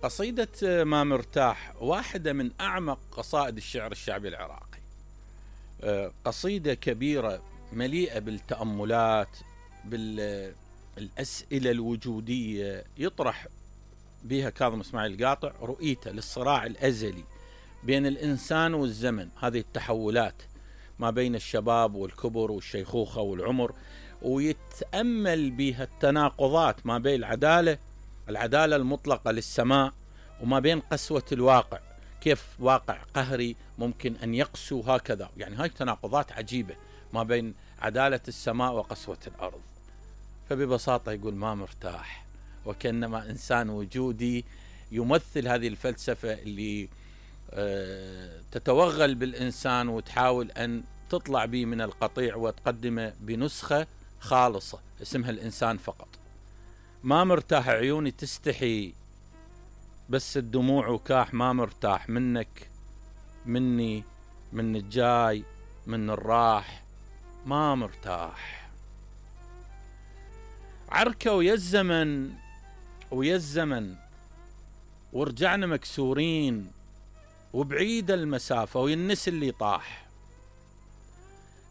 قصيدة ما مرتاح واحدة من أعمق قصائد الشعر الشعبي العراقي. قصيدة كبيرة مليئة بالتأملات، بالأسئلة الوجودية، يطرح بها كاظم إسماعيل القاطع رؤيته للصراع الأزلي بين الإنسان والزمن، هذه التحولات ما بين الشباب والكبر والشيخوخة والعمر، ويتأمل بها التناقضات ما بين العدالة المطلقة للسماء وما بين قسوة الواقع، كيف واقع قهري ممكن أن يقسو هكذا. يعني هاي تناقضات عجيبة ما بين عدالة السماء وقسوة الأرض. فببساطة يقول ما مرتاح، وكأنما إنسان وجودي يمثل هذه الفلسفة اللي تتوغل بالإنسان وتحاول أن تطلع به من القطيع وتقدمه بنسخة خالصة اسمها الإنسان فقط. ما مرتاح، عيوني تستحي بس الدموع وكاح، ما مرتاح منك مني من الجاي من الراح، ما مرتاح. عركة ويا الزمن ورجعنا مكسورين، وبعيد المسافة وينس اللي طاح،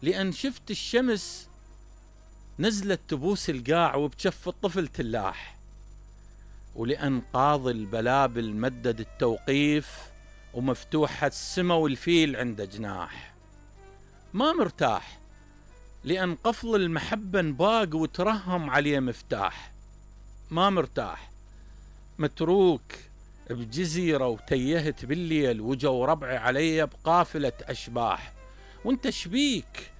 لأن شفت الشمس نزلت تبوس القاع وبجف الطفل تلاح، ولأن قاضي البلابل مدد التوقيف ومفتوحة السما والفيل عنده جناح. ما مرتاح لأن قفل المحبة انباق وترهم عليه مفتاح. ما مرتاح متروك بجزيرة وتيهت بالليل، وجو ربعي علي بقافلة أشباح، وانت شبيك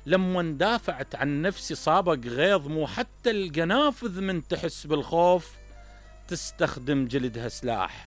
لما اندافعت عن نفسي صابق غيظ، مو حتى القنافذ من تحس بالخوف تستخدم جلدها سلاح.